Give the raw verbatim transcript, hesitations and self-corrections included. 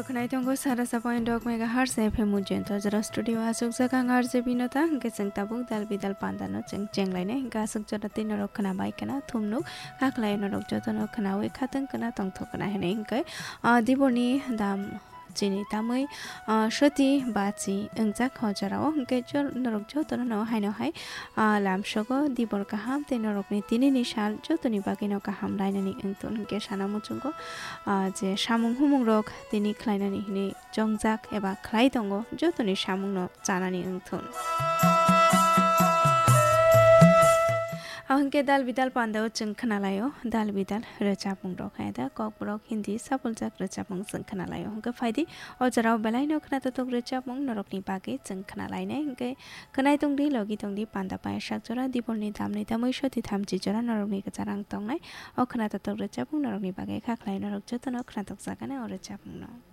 Khwnai tongo sara sabai dok mega hertz F M Ujjayanta jora studio aswk jaga ang R J Binota, hwnkhe chwng tabuk dal bidal pandano chwng chenglainai, hwnkhe aswk jora tei norok khwnabai khwna thumnuk, hakhlai norok jotono khwnawi khatwng khwna tongthok khwna hinwi hwnkhe, ah, diborni dam chini tamwi, ah, soti bachi wngjak o jorao, hwnkhe jor-, norok jotono no haino hai, ah, lamsogo dibor kaham tei norokni tinini sal jotoni bagwino kaham lainani wngthun hwnkhe sana muchungo, ah, je samung humung rok tini khlainani hinwi chongjak eba khlai tongo, jotoni samungno chanani wngthun. Ahwnkhe dal bidal pandao chwng khnalaio, dal bidal rwchapmung rok hai da kokborok Hindi sapuljak rwchapmung chwng khnalaio. Hwnkhe phaidi o jorao belaino khnatotok rwchapmung norokni bagwi chwng khnalainai. Hwnkhe khwnai tongdi, logi tongdi, panda paya sak jora, dibolni damni tamwi soti thamchi jora norokni kwchar ang tongnai. O khnatotok rwchapmung norokni bagwi kha khlai norok jotono khnatok jakani o rwchapmungno.